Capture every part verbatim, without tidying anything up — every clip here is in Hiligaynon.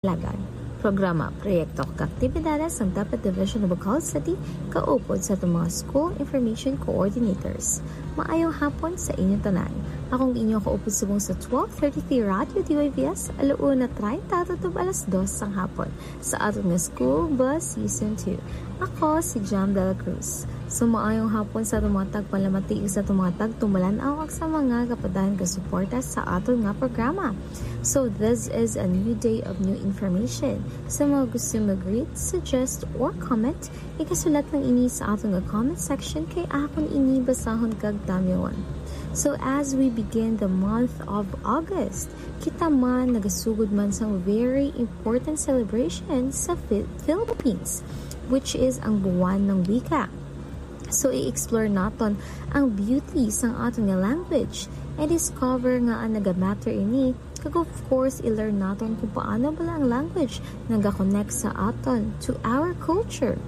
Lagan. Programa, proyekto, kag aktibidades sang DepEd Division of Bacolod City, kaupod sa atong mga school information coordinators. Maayong hapon sa inyo tanan. Akong inyo kaupod subong sa twelve thirty-three Radyo D Y V S, alauna treinta tutob alas dos sang hapon, sa aton nga School Bus Season two. Ako si Jam Dela Cruz. So, maayong hapon sa atong mga tagpanlamati, sa atong mga tagtumbalan-aw, ug sa mga kapadayon nga suporta sa aton nga programa. So, this is a new day of new information. Sa mga gusto mag-greet, suggest, or comment, ikasulat lang ini sa aton nga comment section kay akon ini basahon kag tamyawon. So, as we begin the month of August, kita man nagasugod man sang very important celebration sa Phil-, Philippines, which is ang Buwan ng Wika. So, i-explore naton ang beauty sang aton nga language, and discover nga ang naga-matter ini, kag of course, i-learn naton kung paano bala ang language naga-connect sa aton to our culture,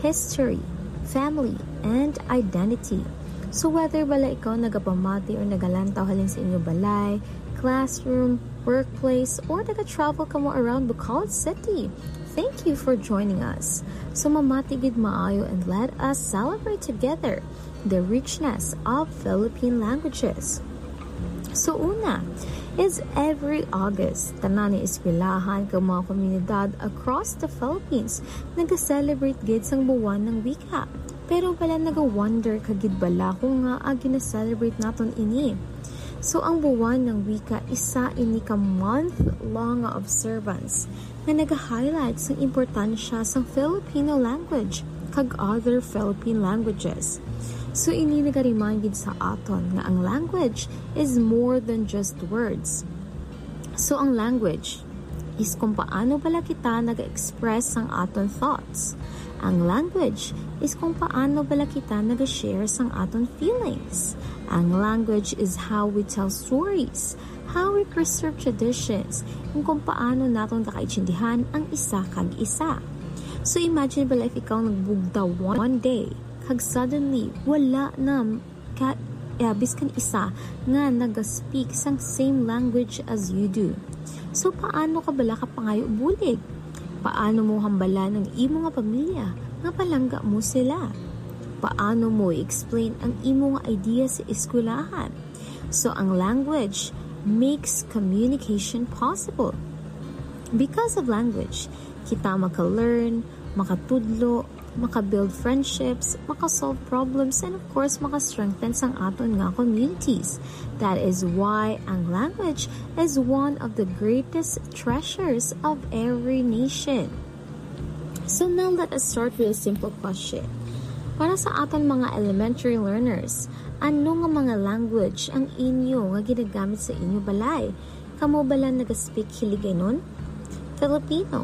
history, family, and identity. So, whether bala ikaw nagapamati or nagalantaw halin sa inyo balay, classroom, workplace, or naga-travel kamo around Bacolod City, thank you for joining us. So, mamati gid maayo and let us celebrate together the richness of Philippine languages. So, una is every August, tanan nga eskwelahan kag mga komunidad across the Philippines naga-celebrate gid sang Buwan ng Wika. Pero bala naga-wonder ka gid bala kung ngaa gina-celebrate naton ini? So, ang Buwan ng Wika, isa ini ka month-long nga observance nga naga-highlight sang importansya sang Filipino language kag other Philippine languages. So, ini naga-remind gid sa aton nga ang language is more than just words. So, ang language is kung paano bala kita naga-express sang aton thoughts. Ang language is kung paano bala kita naga-share sang aton feelings. Ang language is how we tell stories, how we preserve traditions, ug kung paano naton kakaintindihan ang isa kag isa. So, imagine bala if ikaw nagbugtaw one day, kag suddenly, wala na ka, eh, biskan isa nga naga-speak sang same language as you do. So, paano ka bala kapangayo bulig? Paano mo hambalan ang imo nga pamilya nga palangga mo sila? Paano mo i-explain ang imo nga idea sa eskwelahan? So, ang language makes communication possible. Because of language, kita maka-learn, makatudlo, maka-build friendships, maka-solve problems, and of course, maka-strengthen sang aton nga communities. That is why ang language is one of the greatest treasures of every nation. So now let us start with a simple question. Para sa aton mga elementary learners, ano nga mga language ang inyo nga ginagamit sa inyo balay? Kamo bala naga-speak Hiligaynon, Filipino,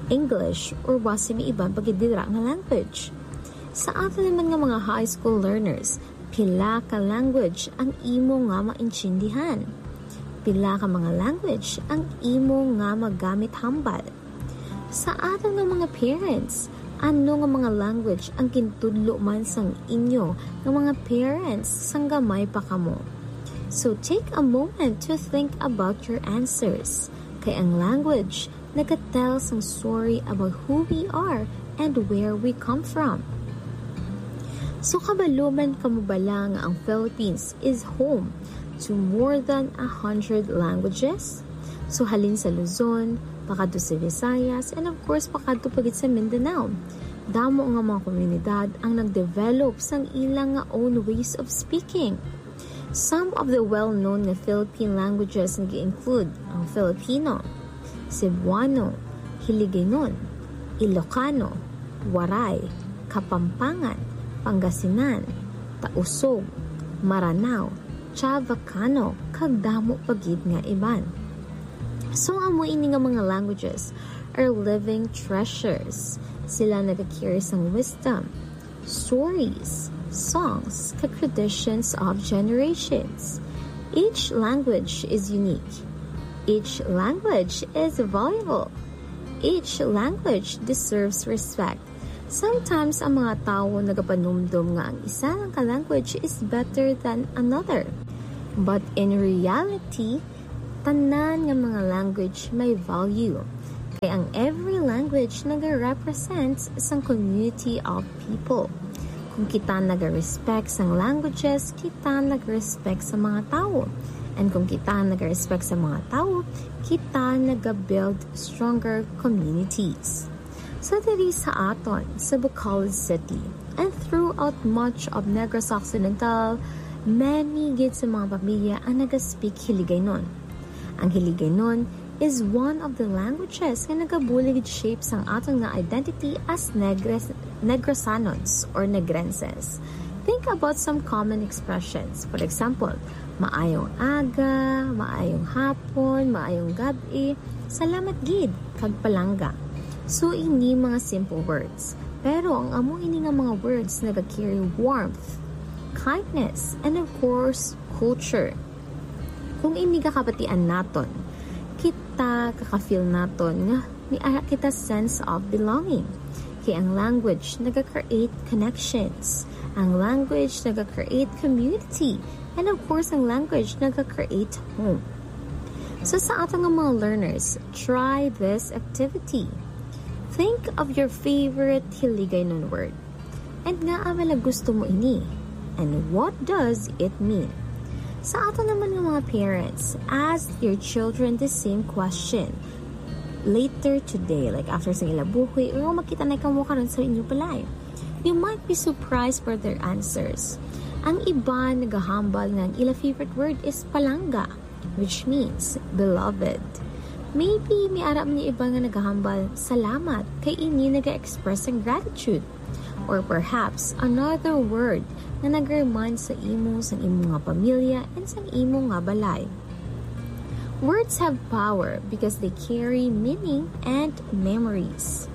English, or basi may iban pa gid dira nga language? Sa aton naman nga mga high school learners, pila ka language ang imo nga maintindihan? Pila ka mga language ang imo nga magamit hambal? Sa aton nga mga parents, ano nga mga language ang gintudlo man sang inyo nga mga parents sang gamay pa kamo? So take a moment to think about your answers. Kay ang language nagatell sang story about who we are and where we come from. So, kabalo man kamo bala nga ang Philippines is home to more than a hundred languages? So, halin sa Luzon, pakadto sa Visayas, and of course, pakadto pa gid sa Mindanao. Damo nga mga komunidad ang nagdevelop sang ilang nga own ways of speaking. Some of the well-known nga Philippine languages nga include ang Filipino, Cebuano, Hiligaynon, Ilocano, Waray, Kapampangan, Pangasinan, Tausug, Maranao, Chavacano, kag damo pa gid nga iban. So, amo ini nga mga languages are living treasures. Sila nagakiri sang wisdom, stories, songs, kag traditions of generations. Each language is unique. Each language is valuable. Each language deserves respect. Sometimes, ang mga tawo nagapanumdom nga ang isa lang ka language is better than another. But in reality, tanan nga mga language may value. Kay ang every language nag-represent sang community of people. Kung kita nag-respect sang languages, kita nag-respect sa mga tawo. And kung kita nag-respect sa mga tawo, kita nag-build stronger communities. So diri sa aton, sa Bacolod City, and throughout much of Negros Occidental, many gid sa mga pamilya ang nag-speak Hiligaynon. Ang Hiligaynon is one of the languages nga nagabulig shape sang aton nga identity as Negres, Negresanons or Negrenses. Think about some common expressions. For example, maayong aga, maayong hapon, maayong gab-i, salamat gid, kag palangga. So, ini mga simple words. Pero ang amo ini nga mga words naga-carry warmth, kindness, and of course, culture. Kung ini kakabatian naton, kita kaka-feel naton nga may ara kita sense of belonging. Kay ang language naga-create connections. Ang language naga-create community. And of course, ang language naga-create home. So sa ato nga mga learners, try this activity. Think of your favorite Hiligaynon word. And ngaa bala gusto mo ini? And what does it mean? Sa ato naman nga mga parents, ask your children the same question later today, like after sa ila buhi, or kung makita na kamo karon sa inyo balay. You might be surprised for their answers. Ang iba nagahambal nga ang ila favorite word is palangga, which means beloved. Maybe may ara man yung iba nga nagahambal, salamat, kay ini naga-express ang gratitude. Or perhaps, another word nga nag-remind sa imo, sa imo nga pamilya, and sa imo nga balay. Words have power because they carry meaning and memories.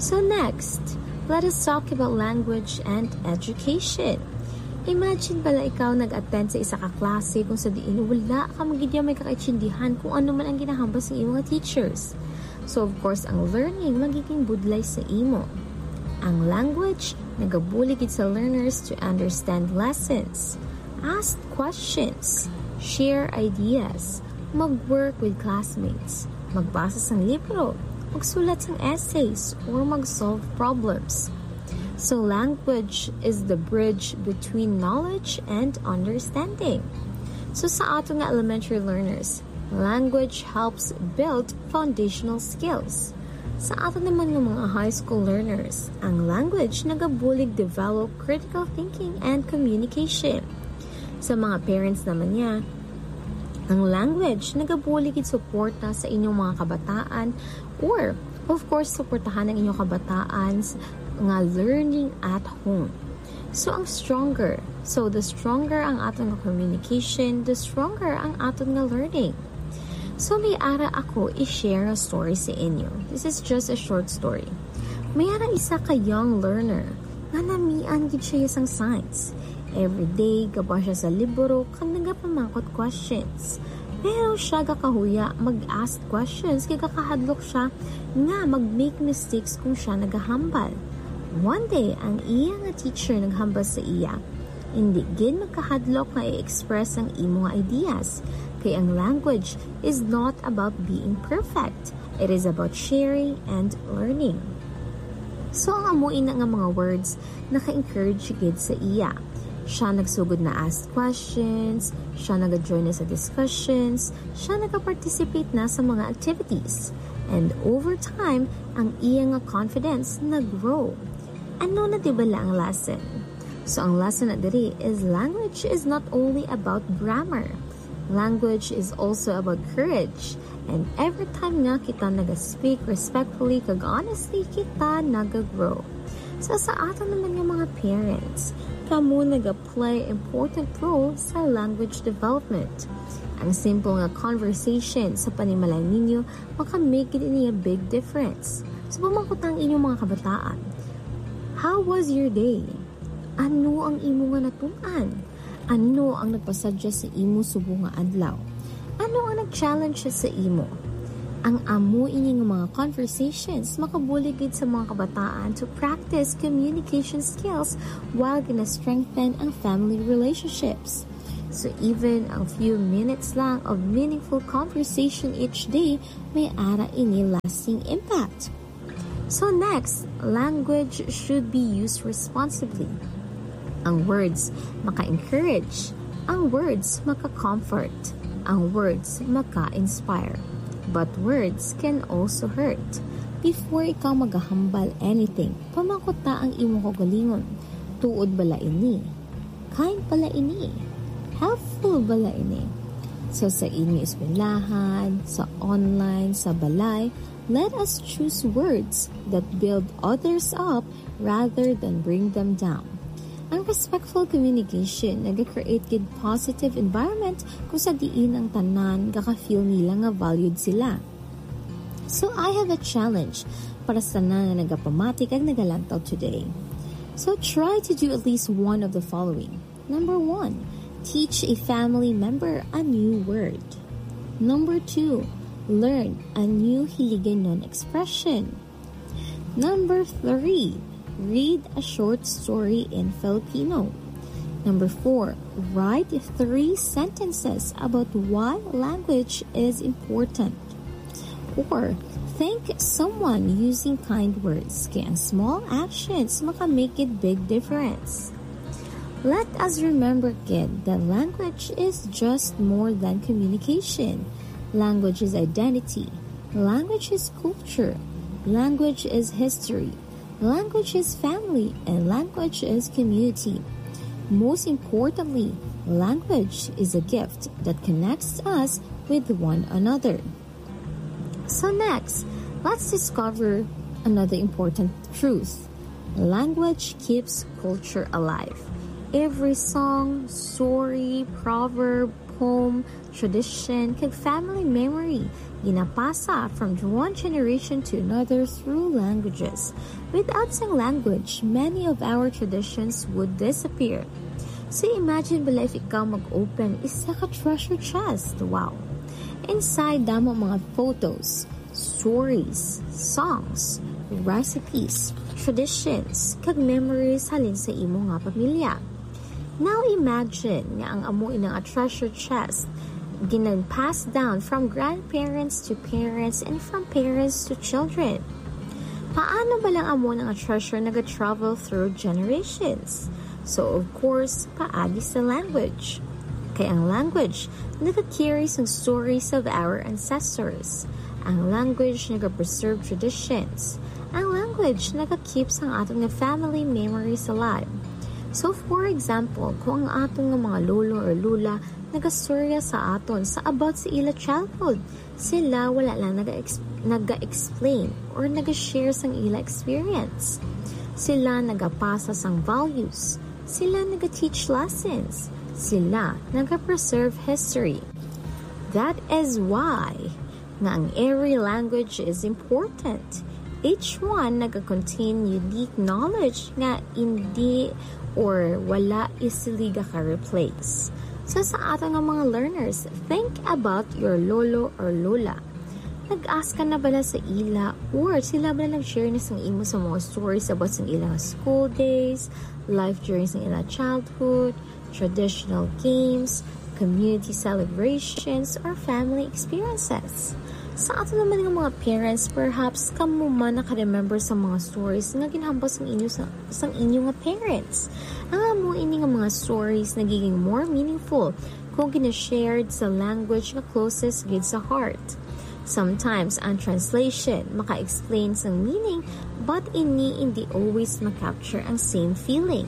So next, let us talk about language and education. Imagine bala ikaw nag-attend sa isa ka klase kung sa diin wala ka magidya may kakaintindihan kung ano man ang ginahambal sa imo nga teachers. So of course, ang learning magiging budlay sa imo. Ang language nagabulig gid sa learners to understand lessons, ask questions, share ideas, mag-work with classmates, magbasa sang libro, magsulat sang essays, or mag-solve problems. So language is the bridge between knowledge and understanding. So sa ato nga elementary learners, language helps build foundational skills. Sa ato naman nga mga high school learners, ang language nagabulig develop critical thinking and communication. Sa mga parents naman niya, ang language nagabulig gid suporta sa inyong mga kabataan, or of course suportahan ang inyong kabataan s-, nga learning at home. So ang stronger, so the stronger ang aton nga communication, the stronger ang aton nga learning. So may ara ako i-share nga story sa inyo. This is just a short story. May ara isa ka young learner nga namian gid siya sang science. Every day gaba siya sa libro kag nagapamangkot questions. Pero siya gakahuya mag-ask questions kay gakahadlok siya nga mag-make mistakes kung siya nagahambal. One day, ang iya nga teacher naghambal sa iya, "Indi gid magkahadlok nga i-express ang imo nga ideas, kay ang language is not about being perfect. It is about sharing and learning." So, ang amo ina nga mga words, naka-encourage gid sa iya. Siya nagsugod na ask questions, siya naga-join na sa discussions, siya naka-participate na sa mga activities. And over time, ang iya nga confidence nag-grow. Ano na di bala ang lesson? So, ang lesson na diri is language is not only about grammar. Language is also about courage. And every time nga kita naga-speak respectfully kag honestly, kita naga-grow. So, sa aton naman nga mga parents, kamo naga-play important role sa language development. Ang simple nga conversation sa panimalay ninyo makamake gid niya big difference. So, pamangkot ang inyong mga kabataan, "How was your day? Ano ang imo nga natun-an? Ano ang nagpasadya sa imo subong nga adlaw? Ano ang nag-challenge sa imo?" Ang amo ini nga mga conversations makabulig gid sa mga kabataan to practice communication skills while gina-strengthen ang family relationships. So even a few minutes lang of meaningful conversation each day, may ara ini lasting impact. So next, language should be used responsibly. Ang words maka-encourage, ang words maka-comfort, ang words maka-inspire. But words can also hurt. Before ikaw magahambal anything, pamangkot ta ang imong kaugalingon. Tuod bala ini? Kind bala ini? Helpful bala ini? So sa inyo eskwelahan, sa online, sa balay, let us choose words that build others up rather than bring them down. Ang respectful communication nag-create gid positive environment kung sa diin ang tanan gaka-feel nila nga valued sila. So I have a challenge para sa tanan nga nagapamati kag nagalantaw today. So try to do at least one of the following. Number one, teach a family member a new word. Number two, learn a new Hiligaynon expression. Number three, read a short story in Filipino. Number four, write three sentences about why language is important. Or thank someone using kind words. Kay ang small actions maka-make a big difference. Let us remember, kid, that language is just more than communication. Language is identity. Language is culture. Language is history. Language is family. And language is community. Most importantly, language is a gift that connects us with one another. So next, let's discover another important truth. Language keeps culture alive. Every song, story, proverb, poem, tradition, kag family memory ginapasa from one generation to another through languages. Without sang language, many of our traditions would disappear. So imagine bala if ikaw mag-open isa ka treasure chest. Wow! Inside, damo mga photos, stories, songs, recipes, traditions, kag memories halin sa imo nga pamilya. Now imagine nga ang amo ina nga treasure chest ginan-pass down from grandparents to parents and from parents to children. Paano bala ang amo ina nga treasure naga-travel through generations? So, of course, paagi sa language. Kay ang language nagacarry sang stories of our ancestors. Ang language nagapreserve traditions. Ang language nagakeep sang aton nga family memories alive. So, for example, kung ang aton nga mga lolo or lola nagastorya sa aton sa about sa ila childhood, sila wala lang naga-ex-, naga-explain or naga-share sang ila experience. Sila nagapasa sang values. Sila naga-teach lessons. Sila naga-preserve history. That is why nga ang every language is important. Each one naga-contain unique knowledge nga hindi or wala easily gaka-replace. So sa aton nga mga learners, think about your lolo or lola. Nag-ask ka na bala sa ila or sila bala nag-share na sang imo sa mga stories about sang ilang school days, life during sang ilang childhood, traditional games, community celebrations, or family experiences? Sa aton naman nga mga parents, perhaps kamo man naka-remember sa mga stories nga ginhambal sang inyo sa, sang inyo nga parents. Ang amo ini nga mga stories nagiging more meaningful kung gina-shared sa language nga closest gid sa heart. Sometimes ang translation maka-explain sang meaning, but ini hindi always ma-capture ang same feeling.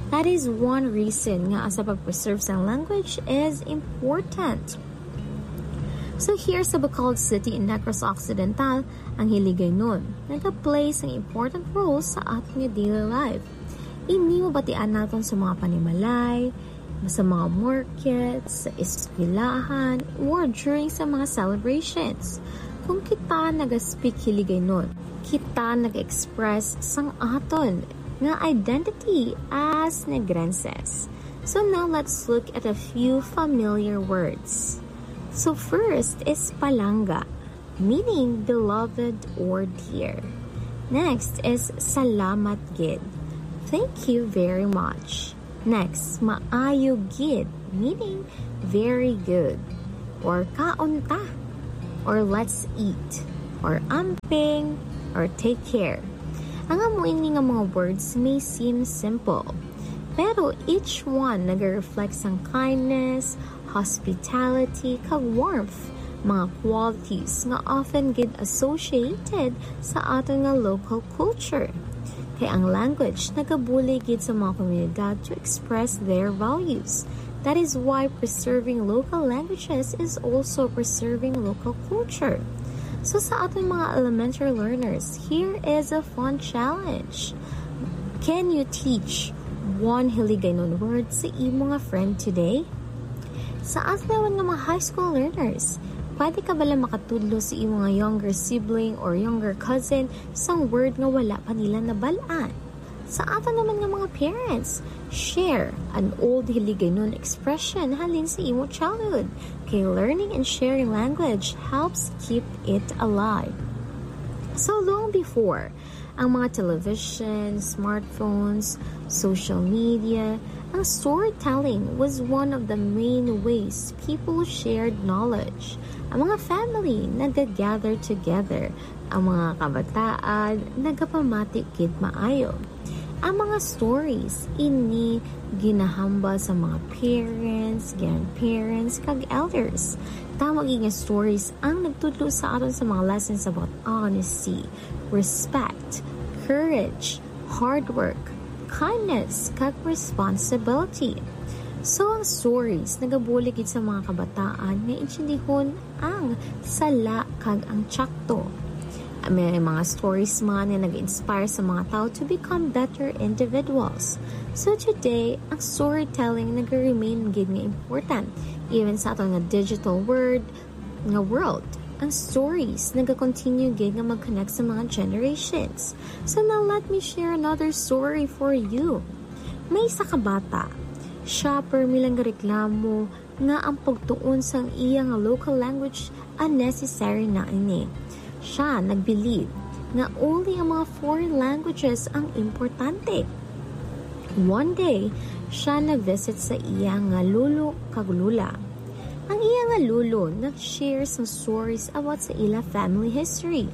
That is one reason nga ang sa pag-preserve sang language is important. So here sa Bacolod City in Negros Occidental, ang Hiligaynon nagaplay sang important role sa aton nga daily life. Ini mabatian naton sa mga panimalay, sa mga markets, sa eskwelahan, or during sa mga celebrations. Kung kita naga-speak Hiligaynon, kita nag-express sang aton nga identity as Negrenses. So now let's look at a few familiar words. So first is palangga, meaning beloved or dear. Next is salamat gid. Thank you very much. Next, maayo gid. meaning very good, or kaon ta, or let's eat, or amping, or take care. Ang amo ini nga mga words may seem simple, pero each one nag-reflect sang kindness, hospitality, kag warmth, mga qualities nga often gid associated sa aton nga local culture. Kay ang language nagabulig gid sa mga komunidad to express their values. That is why preserving local languages is also preserving local culture. So sa aton mga elementary learners, here is a fun challenge. Can you teach one Hiligaynon word sa imo nga friend today? Sa aton naman nga mga high school learners, pwede ka bala makatudlo sa imo nga younger sibling or younger cousin sang word nga wala pa nila nabal-an? Sa aton naman nga mga parents, share an old Hiligaynon expression halin sa imo childhood, kay learning and sharing language helps keep it alive. So long before ang mga television, smartphones, social media, ang storytelling was one of the main ways people shared knowledge. Ang mga family nagagather together, ang mga kabataan nagapamati gid maayo. Ang mga stories ini ginahambal sa mga parents, grandparents, kag elders. Tama gid nga stories ang nagtudlo sa aton sa mga lessons about honesty, respect, courage, hard work, kindness, kag responsibility. So ang stories nagabulig gid sa mga kabataan nga intindihon ang sala kag ang tsakto. May mga stories man nga nag-inspire sa mga tao to become better individuals. So today, ang storytelling nag-remain gid nga important even sa aton nga digital world, nga world. Ang stories nagakontinue gid nga mag-connect sa mga generations. So now let me share another story for you. May isa ka bata. Siya permi lang gareklamo nga ang pagtuon sang iya nga local language unnecessary na ini. Siya nag-believe nga only ang mga foreign languages ang importante. One day, siya na-visit sa iya nga lolo kag lola. Ang iya nga lolo nag-share sang stories about sa ila family history.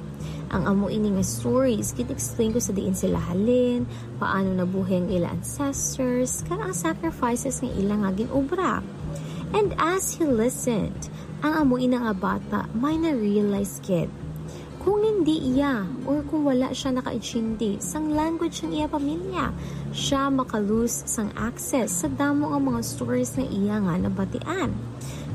Ang amo ini nga stories gin-explain ko sa diin sila halin, paano nabuhi ang ila ancestors, kag ang sacrifices nga ila nga gin-obra. And as he listened, ang amo ina nga bata may na-realize gid. Kung hindi iya or kung wala siya nakaintindi sang language sang iya pamilya, siya makalose sang access sa damo nga mga stories nga iya nga nabatian.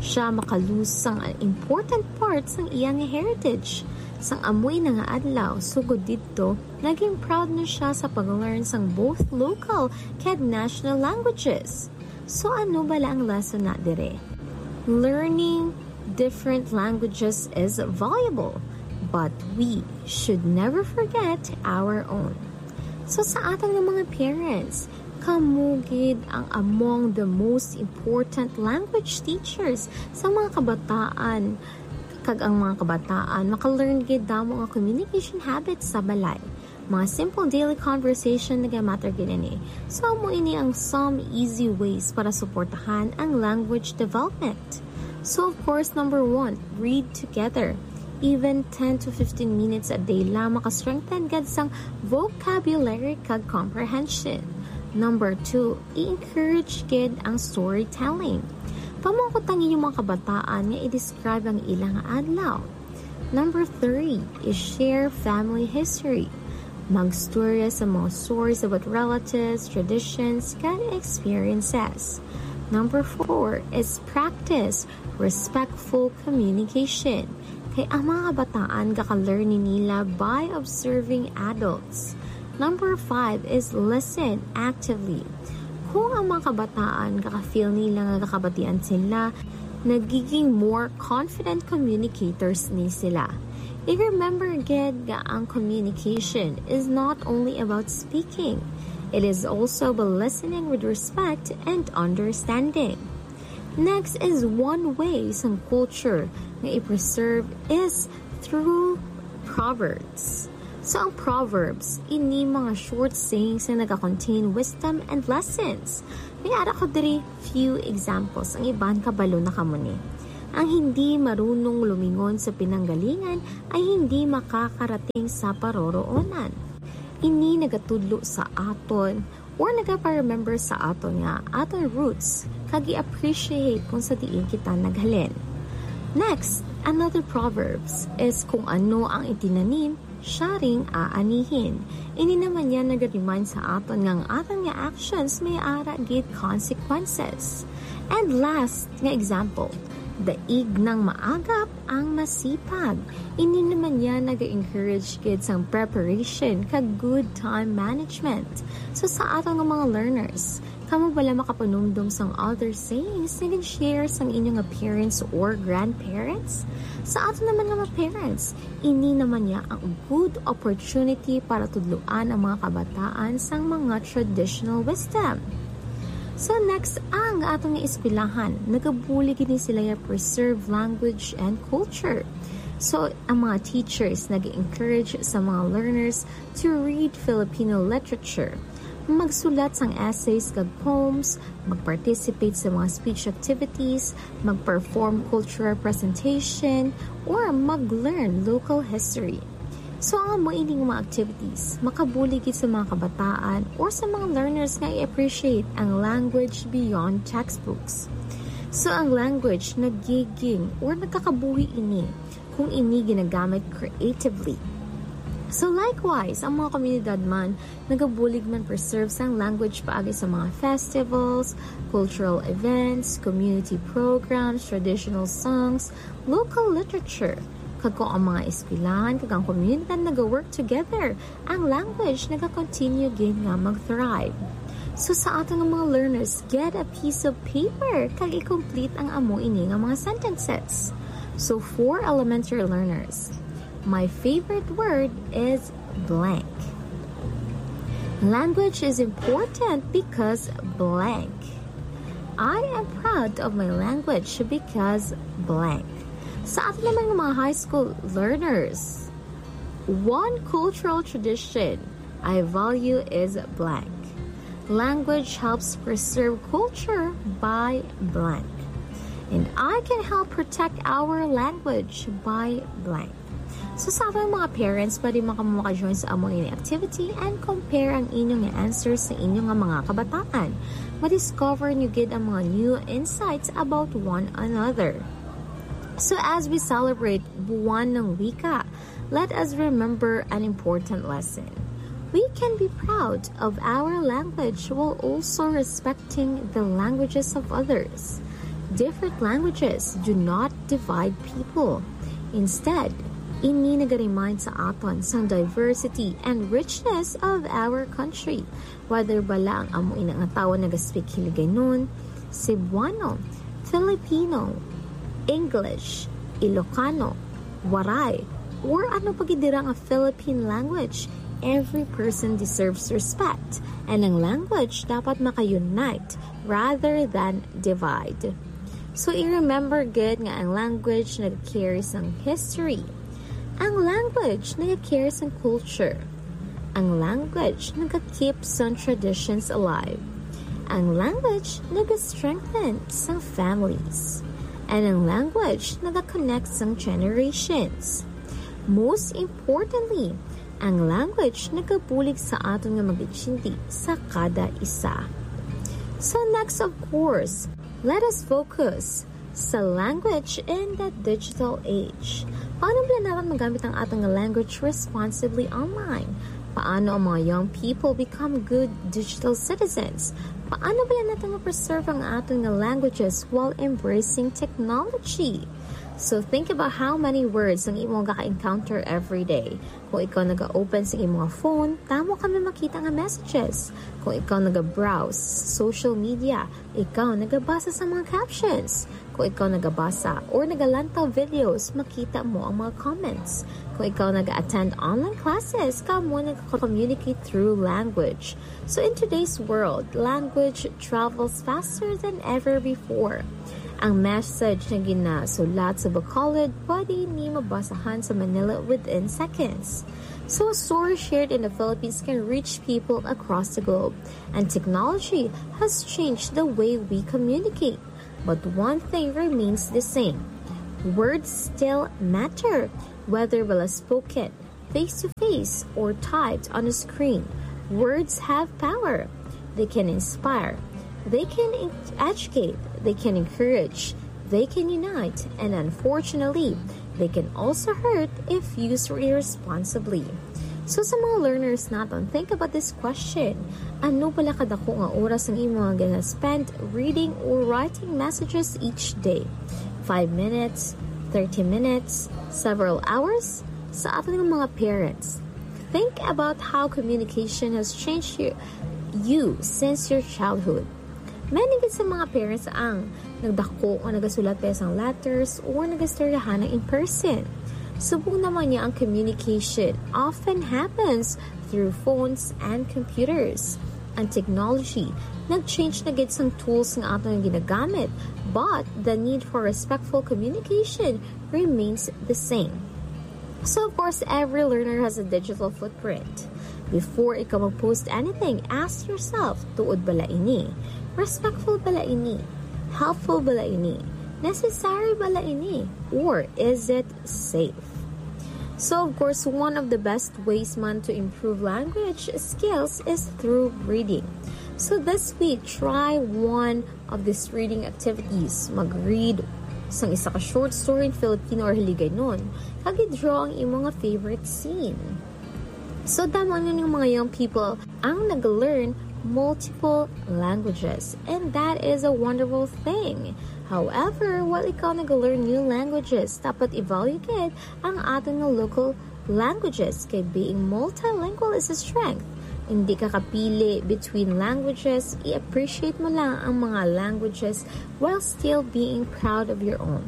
Siya makalose sang important part sang iya nga heritage. Sang amo ina nga adlaw, sugod didto, naging proud na siya sa pag-learn sang both local kag national languages. So ano bala ang lesson na dire? Learning different languages is valuable, but we should never forget our own. So sa aton nga mga parents, kamo gid ang among the most important language teachers sa mga kabataan, kag ang mga kabataan maka-learn gid damo nga communication habits sa balay. Mga simple daily conversation nagamatter gid ini. So amo ini ang some easy ways para suportahan ang language development. So of course, number one, read together. Even ten to fifteen minutes a day lang maka-strengthen gid sang vocabulary kag comprehension. Number two, i-encourage gid ang storytelling. Pamangkot ang inyong mga kabataan nga i-describe ang ilang adlaw. Number three is share family history. Magstorya sa mga stories about relatives, traditions, kag experiences. Number four is practice respectful communication. Kay ang mga kabataan gaka-learn ni nila by observing adults. Number five is listen actively. Kung ang mga kabataan gaka-feel nila nga gakabatian sila, nagiging more confident communicators ni sila. I-remember gid nga ang communication is not only about speaking. It is also about listening with respect and understanding. Next is one way sang culture nga i-preserve is through proverbs. So ang proverbs, ini mga short sayings nga nagakontain wisdom and lessons. May ara ko diri few examples. Ang iban kabalo na kamo ni. Ang hindi marunong lumingon sa pinanggalingan ay hindi makakarating sa paroroonan. Ini nagatudlo sa aton or nagapa-remember sa aton nga aton roots kag i-appreciate kung sa diin kita naghalin. Next, another proverbs is kung ano ang itinanim, siya ring aanihin. Ini naman yan nag-remind sa aton nga ang aton nga actions may ara gid consequences. And last nga example, daig nang maagap ang masipag. Ini naman yan nag-encourage gid sang preparation kag good time management. So sa aton nga mga learners, kamo bala makapanumdom sang other sayings nga gin-share sang inyong nga parents or grandparents? Sa aton naman nga mga parents, ini naman niya ang good opportunity para tudloan ang mga kabataan sang mga traditional wisdom. So next, ang atong nga eskwelahan, nagabulig gid ni sila ya preserve language and culture. So ang mga teachers nag-encourage sa mga learners to read Filipino literature, magsulat sang essays kag poems, mag-participate sa mga speech activities, mag-perform cultural presentation, or mag-learn local history. So ang amo ining mga activities makabulig gid sa mga kabataan or sa mga learners nga i-appreciate ang language beyond textbooks. So ang language nagiging or nagkakabuhi ini kung ini ginagamit creatively. So likewise, ang mga komunidad man nagabulig man preserve sang language paagi sa mga festivals, cultural events, community programs, traditional songs, local literature. Kag kung ang mga eskwelahan kag ang komunidad naga-work together, ang language naga-continue gid nga mag-thrive. So sa aton nga mga learners, get a piece of paper kag i-complete ang amo ini nga mga sentences. So for elementary learners, my favorite word is blank. Language is important because blank. I am proud of my language because blank. Sa aton naman nga mga high school learners, one cultural tradition I value is blank. Language helps preserve culture by blank. And I can help protect our language by blank. So sa aton mga parents, pwede man kamo maka-join sa amo ini activity and compare ang inyong nga answers sa inyong nga mga kabataan. Ma-discover niyo gid ang mga new insights about one another. So as we celebrate Buwan ng Wika, let us remember an important lesson. We can be proud of our language while also respecting the languages of others. Different languages do not divide people. Instead, ini naga-remind sa aton sang diversity and richness of our country. Whether bala ang amo ina nga tawo naga-speak Hiligaynon, Cebuano, Filipino, English, Ilocano, Waray, or ano pa gid dira nga Philippine language, every person deserves respect. And ang language dapat maka-unite rather than divide. So i-remember gid nga ang language nag-carry sang history. Ang language nag-carry sang culture. Ang language nag-keep sang traditions alive. Ang language nag-strengthen sang families. And ang language nag-connect sang generations. Most importantly, ang language nagabulig sa aton nga mag-intindi sa kada isa. So next, of course, let us focus sa language in the digital age. Paano ba naman magamit ang aton nga language responsibly online? Paano ang mga young people become good digital citizens? Paano ba natin ma-preserve ang aton nga languages while embracing technology? So think about how many words ang imo ga-encounter every day. Kung ikaw naga-open sa imong phone, tamo kami makita nga messages. Kung ikaw naga-browse social media, ikaw nagabasa sa mga captions. Kung ikaw nagabasa or nagalantaw videos, makita mo ang mga comments. Kung ikaw nag-attend online classes, kamo nagko-communicate through language. So in today's world, language travels faster than ever before. Ang message na ginasulat sa Bacolod pwede ni mabasahan sa Manila within seconds. So, a story shared in the Philippines can reach people across the globe. And technology has changed the way we communicate. But one thing remains the same. Words still matter, whether well spoken, face to face, or typed on a screen. Words have power. They can inspire. They can en- educate. They can encourage. They can unite. And unfortunately, they can also hurt if used irresponsibly. So sa mga learners naton, think about this question. Ano pala kadako nga oras ang imo nga gina-spend reading or writing messages each day? Five minutes, thirty minutes, several hours? Sa aton nga mga parents, think about how communication has changed you, you since your childhood. Many gid sa mga parents ang nagdako nga nagasulat pa sang letters or nagastoryahan in person. Subong naman niya ang communication often happens through phones and computers. Ang technology, nag-change na gid sang tools nga ato nga ginagamit, but the need for respectful communication remains the same. So of course, every learner has a digital footprint. Before ikaw mag-post anything, ask yourself, tuod bala ini? Respectful bala ini? Helpful bala ini? Necessary bala ini? Or is it safe? So of course, one of the best ways man to improve language skills is through reading. So this week, try one of these reading activities. Mag-read sang isa ka short story in Filipino or Hiligaynon, kag i-draw ang imo nga favorite scene. So, damo na ning mga young people ang nag-learn multiple languages, and that is a wonderful thing. However, while ikaw nag-learn new languages, dapat i-value gid ang aton nga local languages, kay being multilingual is a strength. Hindi ka kapili between languages, i-appreciate mo lang ang mga languages while still being proud of your own.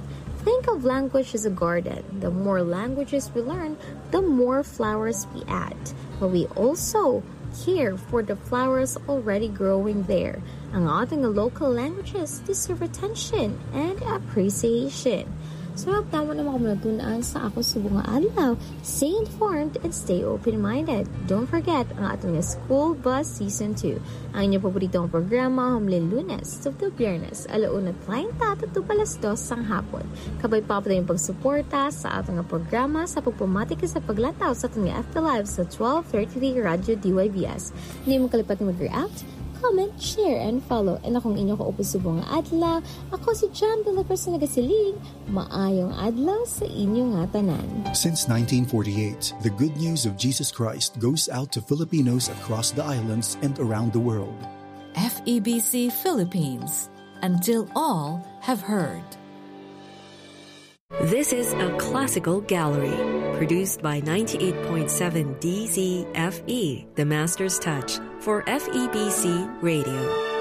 Think of language as a garden. The more languages we learn, the more flowers we add. But we also care for the flowers already growing there. Ang ating local languages deserve attention and appreciation. So, tama naman kami natunan sa Ako Subong nga Adlaw. Stay informed and stay open-minded. Don't forget ang ating School Bus Season two. Ang inyong paboritong programa, humling Lunes, tubtob Biyernes, alauna treinta, tubtob alas dos sang hapon. Kabay pa ang pagsuporta sa ating programa sa pagpamati kag sa paglantaw sa ating F B Live sa twelve thirty Radyo D Y B S. Hindi mo kalipat mag-react, comment, share, and follow. And akong inyo kaupo subong nga adlaw, ako si Jam de la Cruz nga nagasiling, maayong adlaw sa inyo nga tanan. Since nineteen forty-eight, the good news of Jesus Christ goes out to Filipinos across the islands and around the world. F E B C Philippines, until all have heard. This is a classical gallery produced by ninety-eight point seven D Z F E, the master's touch for F E B C Radio.